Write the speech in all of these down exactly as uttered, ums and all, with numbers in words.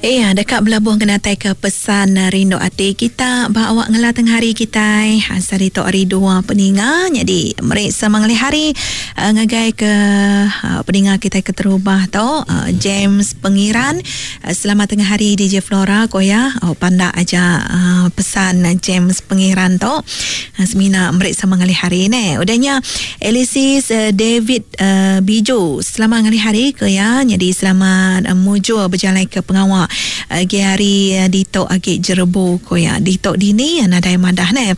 Iya, deka belabuh ngenatai ke pesan rindu ati kita ba awak ngela tengah hari kita. Asal itu hari dua peninga. Jadi, meri sama ngalih hari uh, ngagai ke uh, peninga kita keterubah tu uh, James Pengiran. Uh, selamat tengah hari D J Flora ko ya. Oh, pandak aja uh, pesan James Pengiran tu. Uh, semina meri sama ngalih hari ne. Udahnya Elisis uh, David uh, Biju. Selamat ngalih hari ko ya. Jadi selamat uh, mujur berjalan ke pengawak agi hari ditok agi jerebu ko ya. Ditok dini nadai madah ne.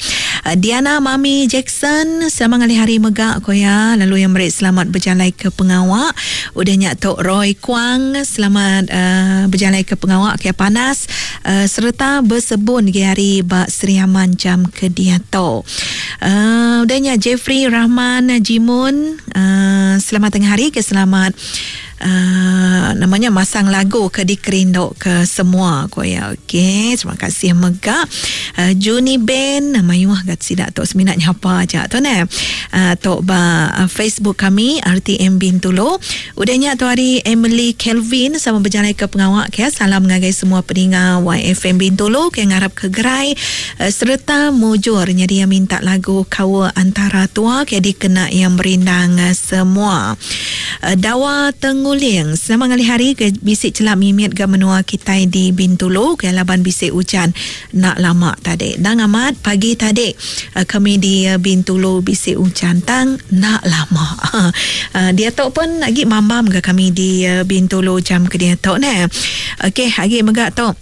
Diana Mami Jackson selamat ngalih hari mega ko ya. Lalu yang meri selamat berjalan ke pengawak. Udahnya tok Roy Kuang selamat uh, berjalan ke pengawak ke panas uh, serta bersebun gi hari ba Sri Aman jam ke diato. Uh, udahnya Jeffrey Rahman Jimun uh, selamat tengah hari ke selamat Uh, namanya masang lagu ke dikerinduk ke semua ko ya. Okey, terima kasih mega. Uh, Juni Ben mayuh gat sidak tok seminat nyapa aja tu ne. Uh, tok ba uh, Facebook kami R T M Bintulu. Udahnya tu hari Emily Kelvin sama berjalan ke pengawak ke. Salam ngagai semua peninga Y F M Bintulu ke ngarap ke gerai uh, serta mujur. Jadi yang minta lagu Kawa Antara Tua ke dikena yang merindang uh, semua. Uh, Dawa Tengu Uling. Selamat ngalih hari ke bisik celap mimit ke menua kita di Bintulu ke laban bisik hujan nak lama tadi. Dan amat pagi tadi kami di Bintulu bisik hujan tang nak lama. Dia tok pun lagi mambam ke kami di Bintulu jam ke dia tok ne. Okey, lagi megak tok.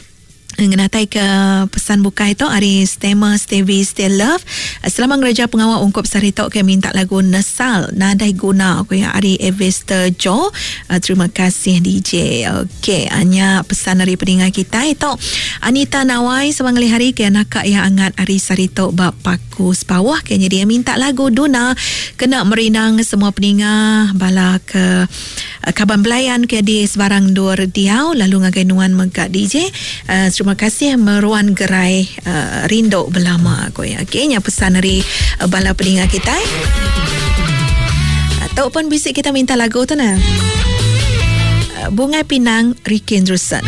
Ngenatai ke pesan bukai tu hari Stemer Stevie Still Love. Selamat ngereja pengawal ungkup sari tok ke minta lagu Nesal Nadai Guna aku ya hari Evester Joe. Terima kasih D J. Okey, hanya pesan dari peninga kita itu Anita Nawai selamat ngalih hari ke nakak yang angat hari sari tok bab paku sepawah kayaknya dia minta lagu Duna kena merinang semua peninga bala ke kaban belayan ke di sebarang dur diau lalu ngagai nuan megak D J. Uh, terima kasih meruan gerai uh, rinduk belama aku ya. Okey, nya pesan dari uh, bala peninga kita. Atau pun bisik kita minta lagu tu nah. Uh, Bungai Pinang Ricky Andrewson.